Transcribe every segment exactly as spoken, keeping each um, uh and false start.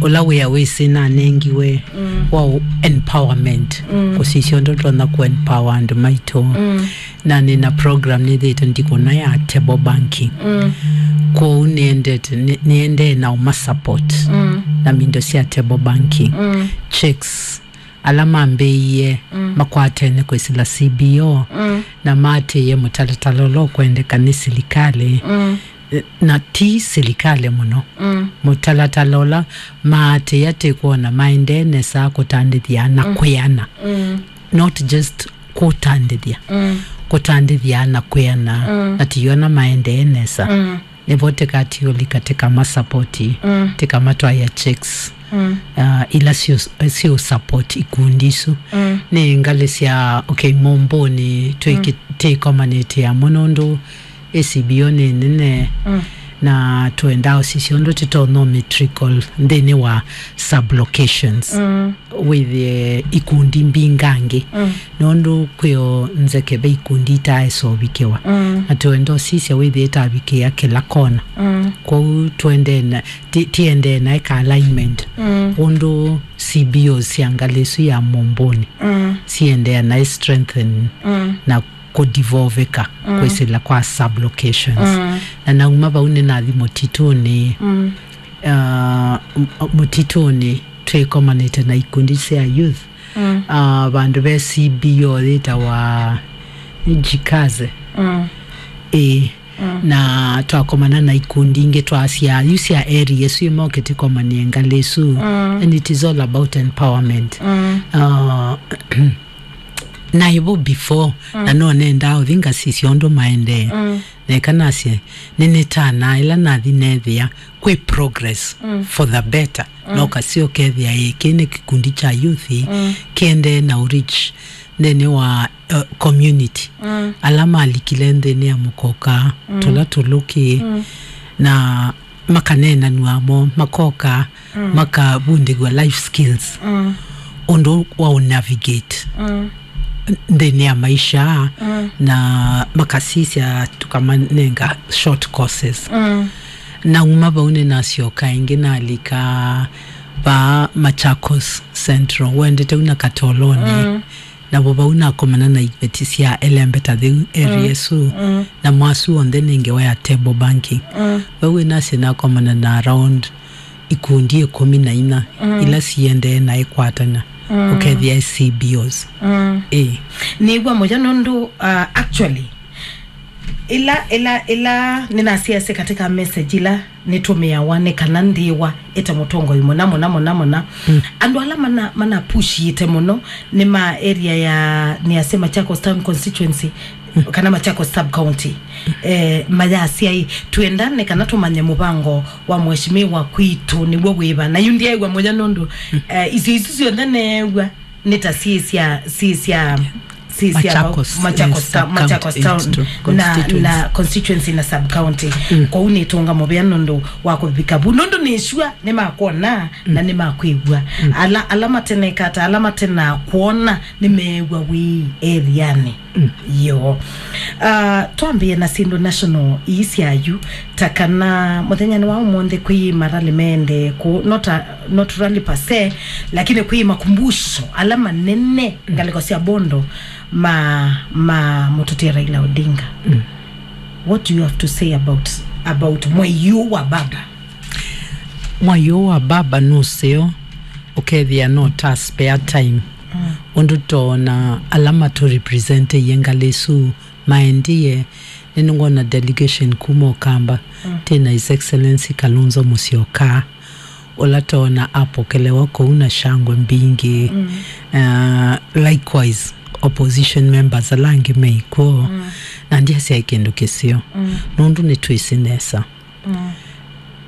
ũla wĩa wĩsĩ nanengiwe wa ũ-, empowerment, kũsisya ũndũ tũtonya kũ empower andũ maitũ. Na nĩ na program nĩthĩte ndikũna ya table banking. Kwoou nĩendete, nĩ-, nĩendee na ũma support na mindo sya table banking. Checks ala mambĩĩie makwatene kwĩsĩla C B O na maatĩĩe mũtalatala ũla ũkwendeka nĩ silikalĩ, eh, na ti silikalĩ mũno, mũtalatala ũla maatĩĩa tĩ kwona maendee nesa kũtandĩthya na kwĩana, not just kũtandĩthya, kũtandĩthya na kwĩana, na tiona maendee nesa. Nĩvo tĩkatiũlika tĩkamasapoti, tĩkamatwaĩa checks, uh, ila siũ, siũ support ikundi isu. Nĩ ngalĩ sya, okay, Mũmbũnĩ twĩki-, tĩkomanĩte amwe nũndũ A C B O nĩ nene, na twendaa ũsisya ũndũ tĩtonya ũmĩtrickle nthĩnĩ wa sublocations. Wĩthĩe ikundi mbingangĩ, nũndũ kwĩo nzeke ve ikundi itaaĩsa ũvikĩwa. Na twenda ũsisya wĩthĩe ĩtavikĩa kĩla kona. Kwoou twendee na, ti-, tiendee naĩ ka alignment, ũndũ C B Os sya ngalĩ ĩsu ya Mũmbũnĩ siendee naĩ strengthen na kũdivoveka kwĩsĩla kwa sublocations. Na nauma vau nĩnathi mũtitũnĩ, uh, m-, mũtitũnĩ twĩkomanĩte na ikundi sya youth, uh, vandũ ve C B O yĩtawa Jikaze. Ĩĩ. Na twakomana na ikundi ingĩ twasya yu sya area ĩsu ĩmwe ũkĩtĩkomanie ngalĩ ĩsu. And it is all about empowerment. Uh, naĩ vo before, na no nendaa ũthi ngasisya ũndũ maendee. Neka nasye, nĩnĩtanaa ĩla nathi nethĩa kwĩ progress for the better. No kasyo kethĩa ĩĩ kĩ nĩ kĩkundi kya youth kĩendee na ũrich nthĩnĩ wa, uh, community. Ala malikile nthĩnĩ ya mũkoka, tũla tũlũkĩ, na makaneenanw'a mo, makoka, makavundĩw'a life skills, ũndũ wa ũnavigate nthĩnĩ ya maisha, na makasisya tũkamanenga short courses. Nauma vau nĩnasyoka ĩngĩ nalika vaa Machakos Central, wendete una Katolonĩ. Navo vau nakomana na iveti sya elembeta thĩu area ĩsu, na mwasu onthe nĩ ngewa ya table banking. Vau ĩnasye nakomana na around ikundi ĩkũmi na inya ila siendee na ĩkwatana, ũkethĩa C B Os. Ĩĩ. Nĩw'a mũyo nũndũ, uh, actually, ĩla, ĩla, ĩla nĩnasiasya katika message ila nĩtũmĩawa nĩ kana ndĩwa ĩte mũtongoi mũna, mũna, mũna, mũna. Andũ ala mana, mana pushĩte mũno nĩ ma area ya, nĩasya Machakos Town Constituency, kana Machakos Sub County. Eh, mayasya ĩ, twenda nĩ kana tũmanye mũvango wa mheshimiwa kwitũ nĩw'o wĩva. Na yu ndyaĩw'a mũyo nũndũ, eh, isio isu syonthe neew'a nĩ ta syĩ sya, syĩ sya, syĩ sya Machakos, Machakos, yes, ta-, sub Machakos county, Town, yes, to na, constituency. Na constituency na sub county. Kwoou nĩtũnga mũvea nũndũ wa kũvika vu. Nũndũ nĩ sure nĩmakwona na nĩmakwĩw'a. Ala, ala matenekata, ala matena kwona nĩmeew'a wĩ area-nĩ. Yo. Ah, twambĩe na syĩndũ national ii sya yu, ta kana mũthenyanĩ wa ũmũnthĩ kwĩ marali meendee kũ, not a, not rally per se, lakini kwĩ makumbusho ala manene ngalĩko sya Bondo ma, ma mũtũtie Raila Odinga. What do you have to say about, about mwei ũũ wa baba? Mwai ũũ wa baba nũseo, ũkethĩa no ta spare time. Ũndũ toona ala matũrepresentĩie ngalĩ ĩsu maendie, nĩnĩngwona delegation kuma Ũkamba, twĩ na His Excellency Kalonzo Musyoka, ũla toona apokelewa kũu na shangwe mbingĩ. Uh, likewise, opposition members ala angĩ mekw'o, na ndyasya kĩndũ kĩseo, nũndũ nĩtwĩsĩ nesa.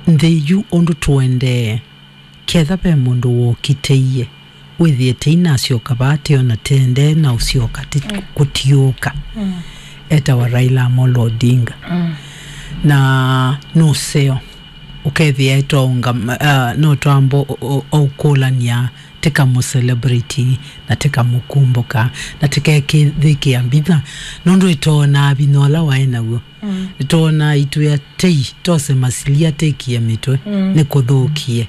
Nthĩ yu ũndũ tũendee, ketha ve mũndũ wokitĩie, wĩthĩe tei nasyoka vaa teo na tendee na ũsyoka ti kũtiũka. Etawa Raila Amolo Odinga. Na nũseo, ũkethĩa etwaũnga, uh, no twambo o, o, o ũkũlany'a tĩkamũcelebrate na tĩkamũkumbũka na tĩkekĩthĩkĩa mbitha, nũndũ ĩtoonaa vinya ũla waĩ naw'o. Nĩtwonaa itwĩa tei tose masilia tĩkie mĩtwe, nĩkũthũkie.